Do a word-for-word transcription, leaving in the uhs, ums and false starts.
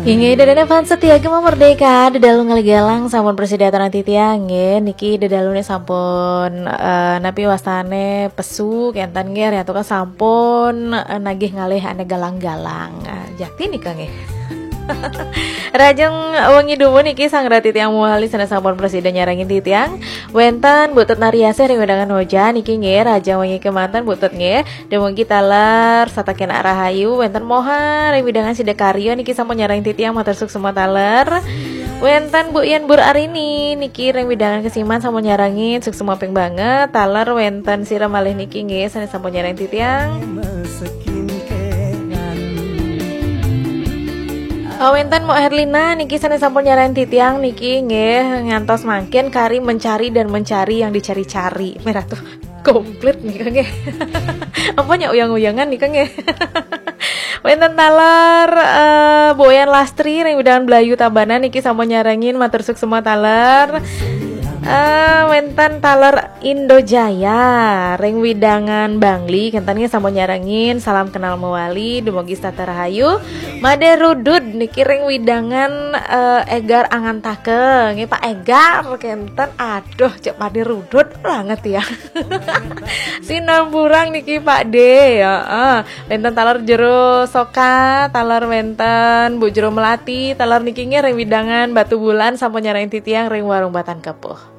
Inggih, ida dané fans setia Gema Merdeka, dedalu ngalih galang sampun prasida aturang titiang, nggih. Niki dedalune sampun, eh, napi wastane pesu, kenten nggih, riantukan sampun, eh, nagih ngalih ane galang-galang. Eh, jakti nika nggih. Rahajeng wengi dumun niki sang rati tiang muali sane sampun prasida nyarengin titiang. Wenten Bu Tut Nariasih ring wewidangan Hoja niki nggih, rahajeng wengi kemanten Bu Tut nggih. Dumugi taler satakenak rahayu, wenten Moha ring wewidangan Sidakarya niki sampun nyarengin titiang, matur suksma taler. Wenten Bu Yan Bur Arini niki ring wewidangan Kesiman sampun nyarengin, suksma ping banget. Taler wenten sira malih niki nggih sane sampun nyarengin titiang. Oh, wenten Mo Herlina niki sane sampun nyarengin titiang niki nggih, ngantos mangkin kari mencari dan mencari yang dicari-cari. Merah tuh komplit nika nggih. Apa nyak uyang-uyangan nika nggih. Wenten taler, eh, Boyan Lastri ring wewidangan Blayu Tabanan niki sampun nyarengin, matur suksma taler. Eh, wenten taler Indo Jaya ring wewidangan Bangli, kenten nggih sampun nyarengin, salam kenal mewali, dumugi setata rahayu. Made Rudud niki ring wewidangan, eh, Egar Angantaka nggih, Pak Egar, kenten, aduh, cek Made Rudud banget ya. Sinamburang niki Pak De, ya. Eh, wenten taler Jero Soka, taler wenten Bu Jero Melati, taler niki nggih ring wewidangan Batubulan sampun nyarengin titiang ring Warung Batan Kepuh.